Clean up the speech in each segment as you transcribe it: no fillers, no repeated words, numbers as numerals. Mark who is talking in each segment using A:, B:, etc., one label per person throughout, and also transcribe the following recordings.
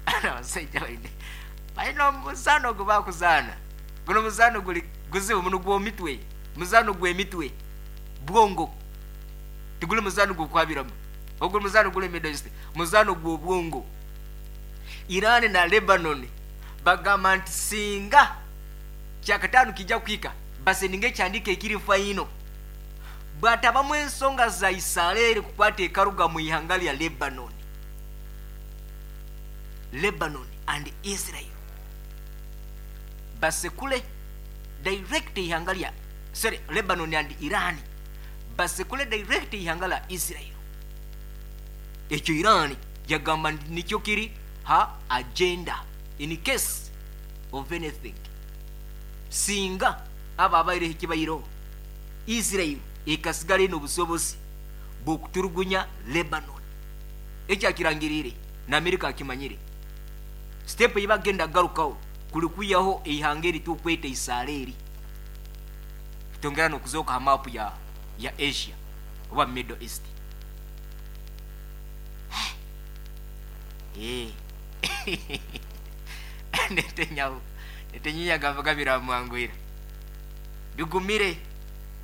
A: Abasaija baine baine omuzaano ogu bakuzaana. Guno omuzaano guri guzibu muno gw'omitwe, muzaano gw'emitwe, bwongo. Tiguri muzaano gw'okwabiramu. Ogu muzaano guri Middle East, muzaano gw'obwongo. Iran na Lebanon bagamba nti singa kyakataano kija kuhika basendinga ekihandiiko ekiri final bwatabamu ensonga za Isareri kukwata ekaruga mu ihanga lya Lebanon. Lebanon and Israel basekule direct eihanga lya sorry Lebanon and Iran basekule direct eihanga lya Israel. Ekyo Iran yagamba nti nikyo kiri ha agenda in case of anything singa aba abaireho ekibaireho Israel ekasigara eine obusobozi bw'okuturugunya Lebanon. Eki akirangiriire na Amerika akimanyire. Step ei bagenda kugarukaho kuri kwihaho eihanga eri turikweta Isaleeri ritongera n'okuzooka ha maapu ya ya Asia oba Middle East. Eh. Netanyahu Netanyahu yagamba biramwanguhira. Bigumire.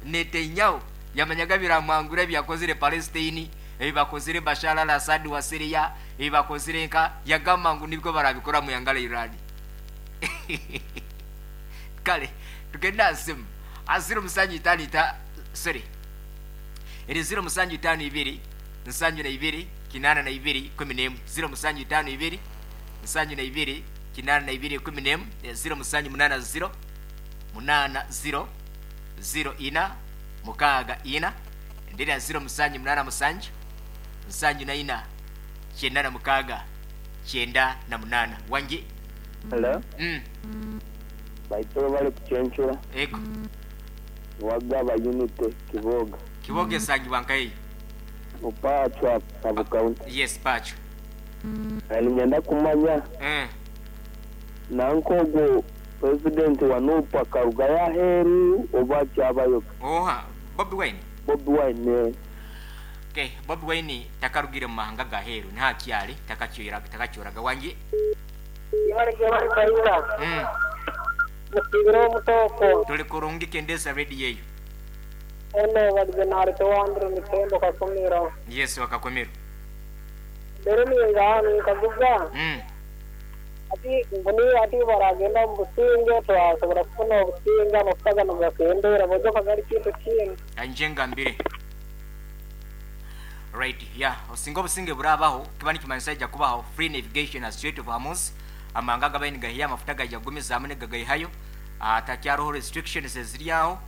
A: Netanyahu yamanyaga biramwanguhira ebi yakozire Palestine, ebi bakozire Bashar al-Assad wa Syria, ebi bakozire nka yagamba ngu nibwo barabikora mu ihanga lya Iran. Kale tugende aha simu. Aha ziro musanju itaano ita sorry. Eri 0752 72 82 11 0752 72 82 11 0780 80 04 6 endera 0787 74 96 98 Wangi.
B: Hello. Baitu bari kucencura.
A: Ego.
B: Wagaba Unity Kiboga.
A: Kiboga esangibwa nkahi?
B: Pacwa sub county.
A: Yes, Pacwa.
B: Niinyenda kumanya nanka ogwo president wa Nup akarugayo aheeru oba akyabayo ge?
A: Oha? Bobi Wine?
B: Bobi Wine eh.
A: Okay, Bobi Wine takarugire mu mahanga ga heeru niho akyari takakyoraga wangi.
C: Yebare Kaina. Musiibire omutooko.
A: Turi kurungi kendeeza radio eyo.
C: Ono barize nareta owandire Mitembo Kakumiro.
A: Yes wa Kakumiro.
C: Mbere ninga ninkaguza hati ngu ni hati baragenda omu businge twasobora kufuna obusinge amafuta ganu gakendeera bojoka gari kintu kindi.
A: Kanyije ngambire. Right, yeah. Singa obusinge burabaho, kiba nikimanyisa haija kubaho free navigation ha Strait of Hormuz, amahanga agabaire nigaihayo amafuta gaija kugumizaamu nigagaihayo, hatakyariho restrictions eziri aho,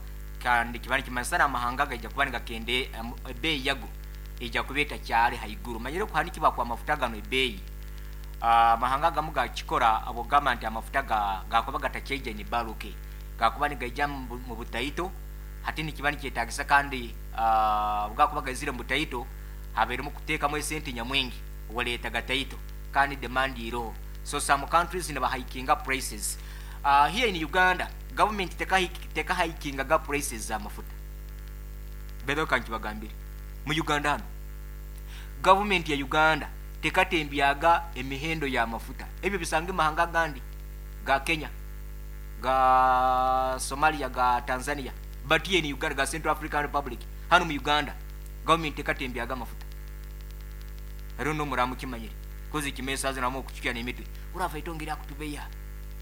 A: kandi kiba nikimanyisa n'amahanga gaija kuba nigakende ebeeyi yago eija kuba etakyari haiguru. Omanyire okuhanikibwa kw'amafuta ganu ebeeyi, amahanga agamu gakikora ahabw'okugamba nti amafuta gakuba gatakyaija in bulk, gakuba nigaija mu butaito, hati nikiba nikyetagisa kandi obu gakuba gaizire omu butaito habairemu kuteekamu esente nyamwingi oreeta gataito kandi demand eriho so some countries nibahaikinga prices. Here in Uganda government tekahaikingaga prices za mafuta by the way kankibagambire mu Uganda hanu government ya Uganda tekatembyaga emihendo ya mafuta ebyo bisange mahanga agandi ga Kenya ga Somalia ga Tanzania but here in Uganda ga Central African Republic hanu mu Uganda government tekatembyaga amafuta hariho nomuraba mukimanyire kozi ekimesa haza namwe okucukya nemitwe orava eitongo eryakutubeya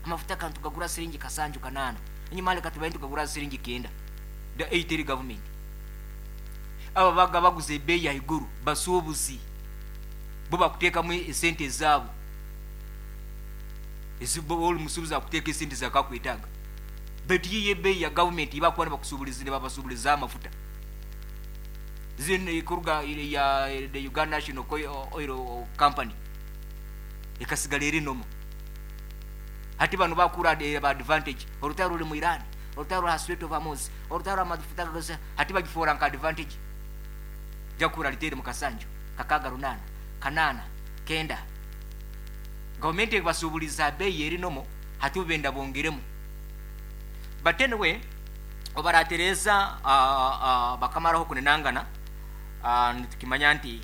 A: amafuta ka nitugagura siringi kasanju kanaana enyima reka tubaye nitugagura siringi kenda the ei teri government abo abaga baguza ebeeyi ahaiguru basuubuzi bo bakutekamu esente ezaabo ezi bo ori musuubuzi akuteeka esente ezi akakwetaaga baitu yo ebeeyi ya government ei bakuba nibakusuuburiza nibabasuuburizaho amafuta Zin kuruga ya the Uganda National Oil Company ekasigara eri normal. Hati banu bakura ba advantage orutaro ruri mu Iran, orutaro ruri aha Strait of Hormuz, orutaro amafuta gagaza hati bagifoora nka advantage. Jakura riteire mu kasanju, kakaaga runaana, kanaana, kenda. Gavumenti ebasuuburiza aha beeyi eri normal hati bo benda bongeremu. But anyway, obaratereeza bakamaraho kunenangana, nitukimanya nti.